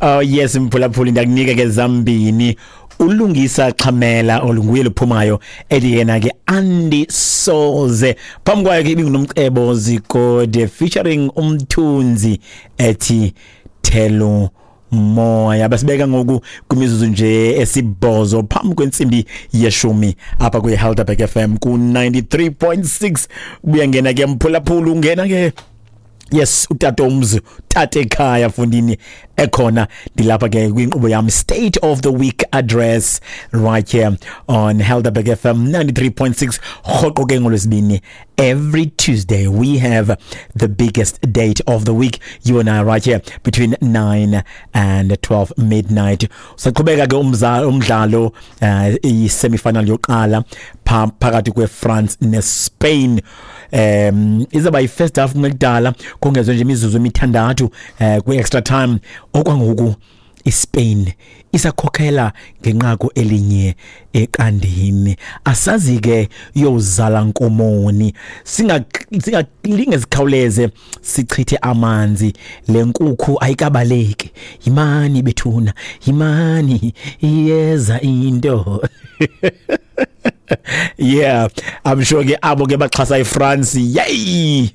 Oh yes, mphulaphuli, ndakunika ke zambini. Ulungisa Xhamela olunguye luphumayo ethi yena ke andisoze. Phambi kwayo ke ibinguNomcebo Zikode featuring Umthunzi ethi Thelo Moya. Basibeka ngoku kwimizuzu nje esibhozo phambi kwentsimbi yeshumi apha kwi-Helderberg FM ku-93.6. Buya ngena ke mphulaphula, ungena ke yes, utata umzi, tata ekhaya fundini ekhona. Ndilapha ke kwinkqubo yam State of the Week Address right here on Helderberg FM 93.6 rhoqo ke ngolwesibini. Every Tuesday we have the biggest date of the week, you and I, right here between 9 and 12 midnight. Saqhubeka ke umdlalo i-semifinal yokuqala phakathi kwe-France ne-Spain. Izaba yi-first half kungekudala, kongezwe nje imizuzu emithandathu kwi-extra time. Okwangoku iSpain isakhokhela ngenqaku elinye eqandini. Asazi ke yozala nkomoni, singalinge sikhawuleze sichithe amanzi, le nkukhu ayikabaleki. Yimani bethuna, yimani, iyeza into. Yeah, I'm sure ke abo ke baxhasa iFrance, yey,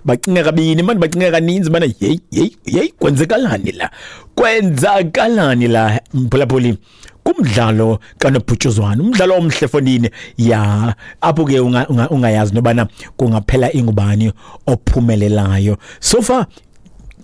bacinga kabini mani, bacinga kaninzi bana hey hey hey, kwenzekalani la, kwenzakalani la mphulaphuli kumdlalo kanobhutshuzwana, umdlalo omhle fondini ya apho ke ungayazi nobana kungaphela ingubani ophumelelayo. So far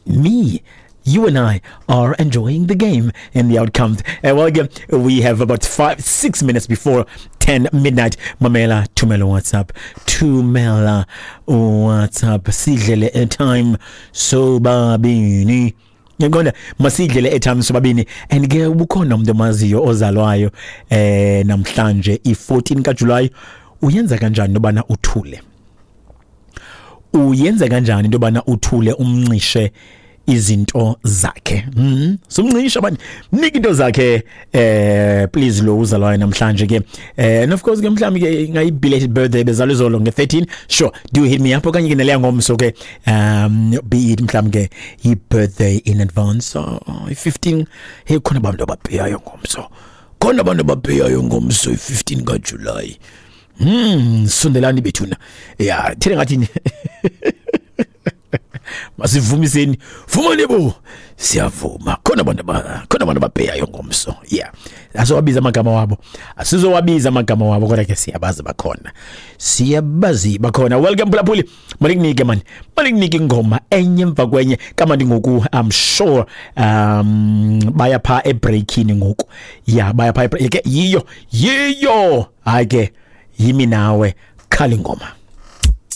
me, you and I are enjoying the game and the outcomes. Well, again, we have about 5-6 minutes before 10 midnight. Mamela, thumela WhatsApp. Thumela WhatsApp. Sidlele airtime sobabini. Ngiyaqonda masidlele airtime sobabini. And ke ubukhona umuntu omaziyo ozalwayo namhlanje i14 kaJuly, uyenza kanjani nobana uthule? Uyenza kanjani into yobana uthule umncishe izinto zakhe? Sumncisha manje, mnika into zakhe please, lo uzalwayo namhlanje ke. And of course ke mhlawumbi ke ingayi belated birthday, bezalwa izolo nge-13. Sure, do hit me up okanye ke naleya ngomso ke, be it mhlawumbi ke i-birthday in advance, i-15. Hey, khona abantu ababheyayo ngomso, khona abantu ababheyayo ngomso i-15 kaJuly. Sondelani bethuna. Ya, thina ngathi masivumiseni, vumani bo, siyavuma. Khona abantu ababheyayo ngomso. Yeah, asowabiza amagama wabo, asizowabiza amagama wabo, kodwa ke siyabazi bakhona, siyabazi bakhona. Welcome phulaphuli, malikunike man, malikunike ingoma enye emva kwenye kamandi ngoku. I'm sure baya pha ebreakini ngoku. Yeah, baya pha ke yiyo yiyo, hayi ke yimi nawe, khala ingoma.